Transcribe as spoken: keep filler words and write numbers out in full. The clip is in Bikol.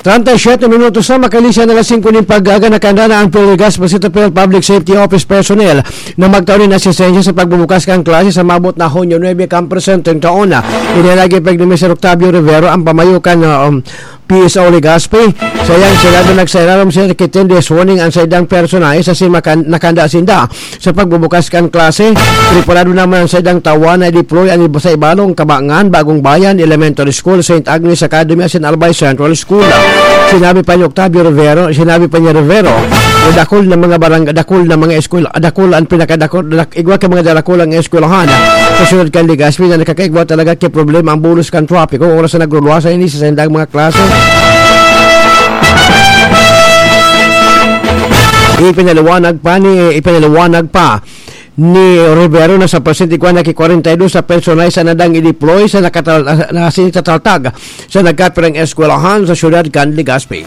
Treinta y siete minutos na, makalihis an alas singko nin pag-aga, nakahanda na ang P L Legazpi City P L Public Safety Office personnel na magtao nin asistensya sa pagbubukas kan klase sa maabot na Hunyo nuebe kan presenteng taon. Inilagay pa ni Mister Octavio Rivero ang pamayo kan, ah, um, P S O Legazpi. Sa iyang sinabi, nagsararom siya kay Tende Warning ang saindang personahe sa sima kan nakahanda sinda sa pagbubukas kan klase. Preparado naman ang saindang tawa na i-deploy ang iba sa Ibalong, Kabangan, Bagong Bayan, Elementary School, Saint Agnes Academy, asin Albay Central School. Sinabi pa ni Octavio Rivero, sinabi pa ni Rivero, na dakul na mga barang-, dakul na mga eskwela, dakul ang pinakadakul, dak-, igwa ka mga darakulang eskwelahan sa syudad kan Legazpi na nakakaigwa talaga kay problema ang bulos kan trapiko oras na nagruluwasan ini sa saindang mga klase. Ipinaliwanag pa ni, ipinaliwanag pa ni Rivero na sa presente igwa na ki kwarenta y dos sa personahe sa nadang i-deploy sa nakatal-, na sinitaltag sa nagkapirang eskwelahan sa syudad kan Legazpi.